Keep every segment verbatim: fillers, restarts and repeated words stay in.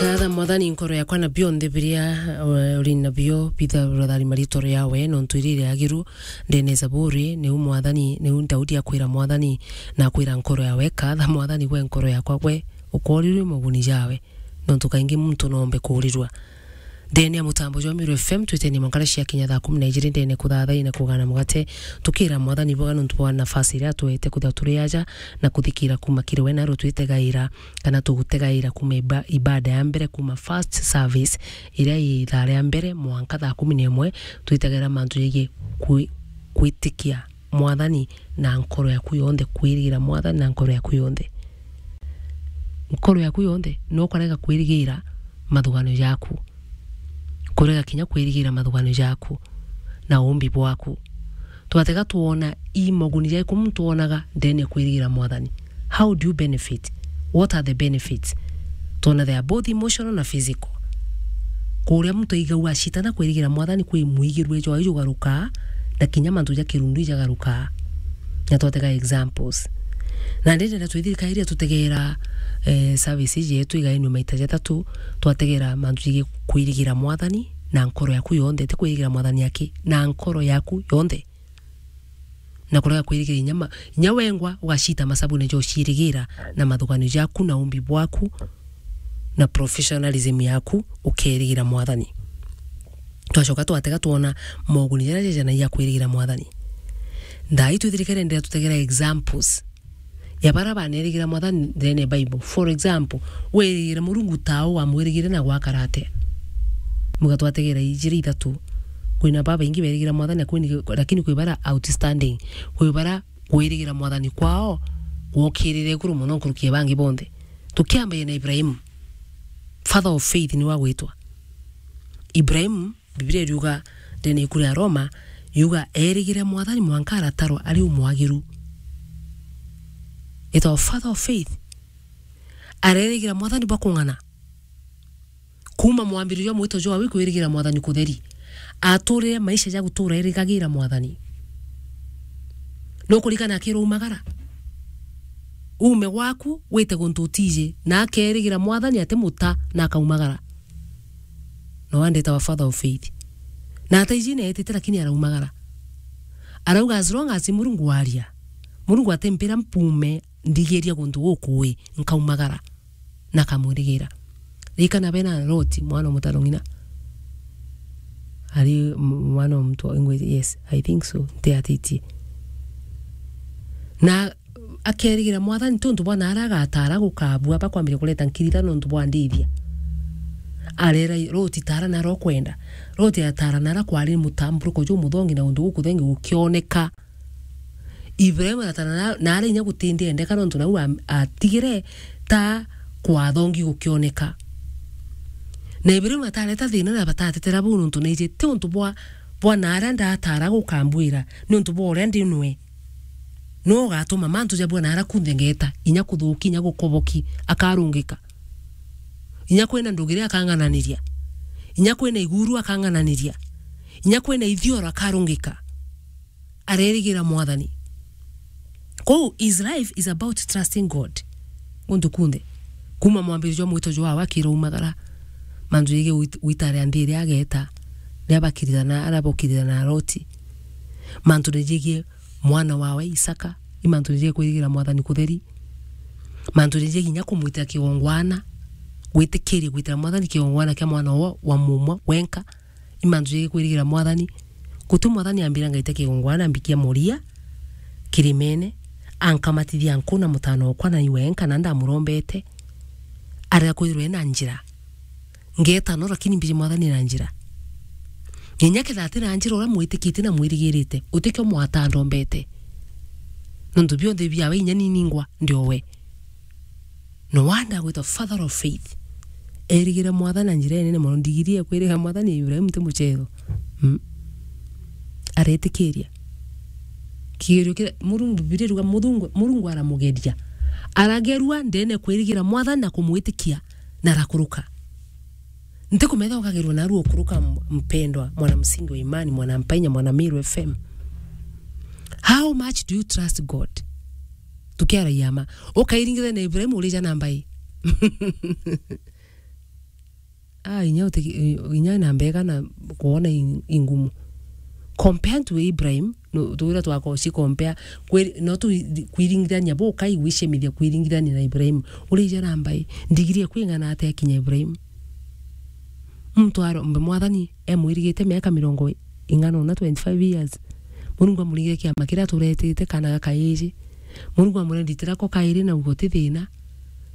Atha Mwathani nkoro yakwa na bionthe biria, eh, uri nabio, bitha rotharima ritoro yawe, nontu iri riagiru ndene Zaburi, niu Mwathani, niu Daudi akwira Mwathani, na akwira nkoro yawe, katha Mwathani gwe nkoro yakwa gwe, ukorirwe moguni jawe, nontu kaingi muntu noombe kuurirwa. Ndene ya mutambo jwa Miru F M, twitenie mwankara cia kinya thaa kumi na ijiri ndene kuthathai na kugana mugate, tukira Mwathani boga nontu bwa nafasi iria atwete kwithirwa turi aja na kuthikira kuma kiri we, na rutwitegaira kana tugutegaira kuma iba-, ibada ya mbere, kuma first service iria i ithaa ria mbere mwanka thaa kumi na imwe, twitegera mantu jegie kwi-, kwitikia Mwathani na nkoro yaku yonthe, kwirigira Mwathani na nkoro yaku yonthe. Nkoro yaku yonthe, no kurega kwirigira mathuganio jaku. Kurega kinya kwirigira mathuganio jaku na umbi bwaku. Twatega twona i moguni jaiku muntu onaga ndene ya kwirigira Mwathani. How do you benefit? What are the benefits? Twona they are both emotional na physical. Kuria muntu aigagua acitana kwirigira Mwathani kwi mwigirwe jwawe jugarukaa, na kinya mantu ja kirundu ijagarukaa. Na twatega examples. Na ndende na twithirikairia tutegera, eh, service iji yetu igainwe maita jathatu, twategera mantu jigi kwirigira Mwathani na nkoro yaku yonthe, ti kwirigira Mwathani aki, na nkoro yaku yonthe. Na kurega kwirigira inya ma-, inya wengwa ugacita masabune ja uciirigira na mathuganio jaku na umbi bwaku na professionalism yaku, ukeerigira Mwathani. Twacoka twatega twona moguni jaria jejanagia kwirigira Mwathani. Thaa ii twithirikere ndira tutegera examples ya baria baneerigira Mwathani ndene ya Bible. For example, wirigira Murungu tau wamwirigire na gwakara atia? Muga twategera ijiri ithatu. Kwina babaingi berigira Mwathani, na kwini-, lakini kwi baria outstanding. Kwi baria kwirigira Mwathani kwao gwokirire iguru mono nkuruki ya bangi bonthe. Tukiambagia na Ibrahimu, father of faith niwe agwitwa. Ibrahimu, Biblia iriuga, ndene ya iku ria Roma, yuga, eerigire Mwathani mwanka aratarwa ari umwagiru. Etagwa father of faith. Areerigira Mwathani bwa kung'ana. Kuuma mwambiririo jwa mwito jwawe kwirigira Mwathani kutheri. Aturire maisha ja gutura erigagira Mwathani. Nukurikana akirwa umagara? Uume gwaku, wite guntu utiji, na akeerigira Mwathani ati muta, na akaumagara. No andetawa father of faith. Na ataiji neetite, lakini araumagara. Arauga, as long as Murungu aria, Murungu atimpira mpume ndigiria guntu gukui, nkaumagara. Na akamwirigira. Ririkana bena Loti, mwana o mutaro ng'ina. Ari m-, mwana o mutwa, ngwe-, yes, I think so. Ntiatitie. Na akeerigira Mwathani, ti untu bwa naara agatara gukabua, bakwambiria kureta nkirita nontu bwa ndithia. Arera Loti, tara nara ukwenda. Loti atara nara kwari mutamburuko jumuthongi na untu gukuthengi gukioneka. Ibrahimu aratara na, naara inya gutindendeka nontu nau am-, atigire ta kwathongi gukioneka. Na Ibrahimu atareta thina na batatetera buu nontu naiji ti untu bwa, bwa naara ndatara gukambwira, ni untu bwa uria ndi nwe. No ugatuma mantu jabua naara kunthe ngeta, inya kuthuki, inya gukoboki, akarungika. Inya kwina ndugire akang'ananiria. Inya kwina iguru akang'ananiria. Inya kwina ithioro akarungika. Arerigira Mwathani. Kou, his life is about trusting God. Guntu kunthe. Kuma mwambiririo jwa mwito jwawe akiraumagara. Mantu jegie wit-, witaria nthi iria ageta. Ria bakirithana, aria bokirithana na Loti. Mantu jegie mwana wawe Isaka. I mantu jegie kwirigira Mwathani kutheri. Mantu jegie kinya kumwitira kigongwana. Gwitikiria gwitira Mwathani kigongwana kia mwana wa, wa mumwe wenka. I mantu jegie kwirigira Mwathani. Guti Mwathani ambira ngaita kigongwana mbikia muria kirimene, ankamatithia nku na mutano okwa na iwe enka na ndamurombete. Arega kwithirwa ena njira. Ngeta no, lakini mbiji Mwathani na njira. Nginya ketha ati na njira uria mwitikitie na mwirigirite, utikio mwata ndombete. Nontu bionthe biawe inya ni ningwa ndiowe. No wonder agwitwa father of faith. Erigire Mwathani na njira inene mono, ndigiri ya kwiriga Mwathani ya Ibrahimu ti muchetho. Mm. Aretikiria. Kigerio kira Murungu, Biblia iruga Murungu, Murungu aramugeria. Aragerua ndene kwirigira Mwathani na kumwitikia na arakuruka. Ntikumenya ukagerwa narua ukuruka, m-, mpendwa, mwana msingi wa imani, mwana mpainya, mwana Miru F M. How much do you trust God? Tukiaragia ma. Ukairingithia na Ibrahimu urija na mbai. Ah, inya uti-, inya na mbega na kuona i-, ingumu. Compared to Ibrahim, no, tuwira twako uci compare, kwiri-, no tu-, kwiringithania bo kai gwicemithia kwiringithania na Ibrahim. Uri ija na mbai, ndigiri ekwing'ana atia kinya Ibrahim? Muntu aro, mbe mwathani, emwirigite miaka mirongo ing'ana una, twenty-five years. Murungu amuringire kiama kiria aturetete kana gakaiji. Murungu amurenditira ko kairi na ugo ti thina.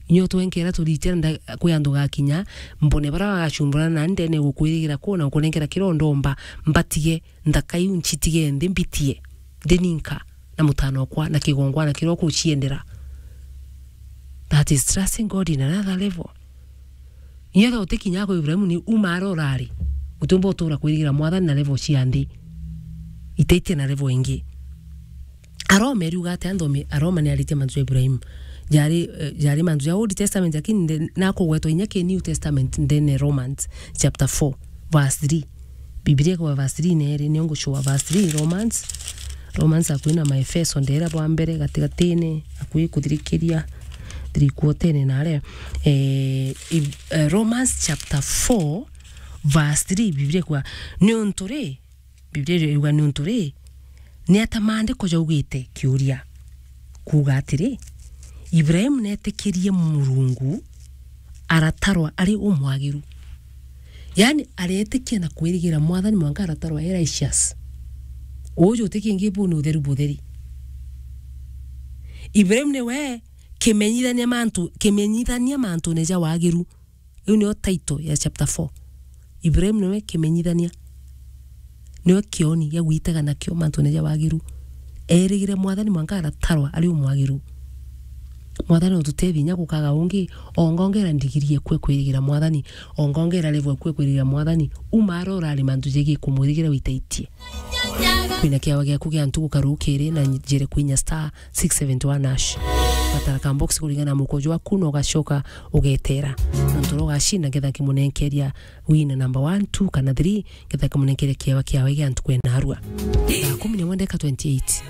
Inyo twenkera turitira nda-, kwi andu gakinya, mbone bara bagacumbura na ndene gukwirigira ku na gukunenkera kiria ndomba, mbatige, nthaka iu ncitige nthi mbitie, ndi ninka, na mutano okwa, na kigongwana kiria ukuciendera. That is trusting God in another level. Inyo tho utikinya kwa Ibrahimu ni uma ara urari. Utiumba utura kwirigira mwathani na level cia nthi. Itaitie na level ingi. Aroma iriuga atia? Nthome, Aroma ni aritie mantu ja Ibrahim. Jari, eh, jari mantu ja Old Testament, lakini nde-, nakugwetwa inya ki New Testament ndene Romans chapter four, verse three. Biblia kwa verse three neri, nio ngucua verse three, Romans. Romans akui na Maefeso ndera bwa mbere gatigatine, akui kuthirikiria, three quarter-ine nare. Eh, i-, eh, Romans chapter four, verse three, Biblia kwa, niuntu ri, Biblia iriuga niuntu ri, ni ata maandiko jaugite? Kiuria, kuuga atiri, Ibrahimu neetikirie Murungu, aratarwa ari umwagiru. Yaani, areetikia na kwirigira mwathani mwanka aratarwa e righteous. Uju ti kingi bu ni utheru butheri. Ibrahimu niwe kimenyithania mantu, kimenyithania mantune ja wagiru. Iu niyo title ya chapter four. Ibrahim niwe kimenyithania. Niwe kioni gia gwitega nakio mantune ja wagiru. Eerigire mwathani mwanka aratarwa ari umwagiru. Mwathani ututethie inya gukaga ungi, ongongera ndigiri ekue kwirigira mwathani, ongongera level ekue kwirigira mwathani, uma ara urari mantu jegie kumwirigira witaitie. Kwina kiawa giaku gia ntugu karukiri na njire kwinya star six seventy one hash. Gatara ka box kuringana na mukojo waku na ugacoka ugetera. Na ntoro ugacinda ngetha kimunenkeria win number one, two kana three, ngetha kimunenkeria kiawa kiawe gia ntuku ena arua. Thaa kumi na imwe ndeka twenty-eight.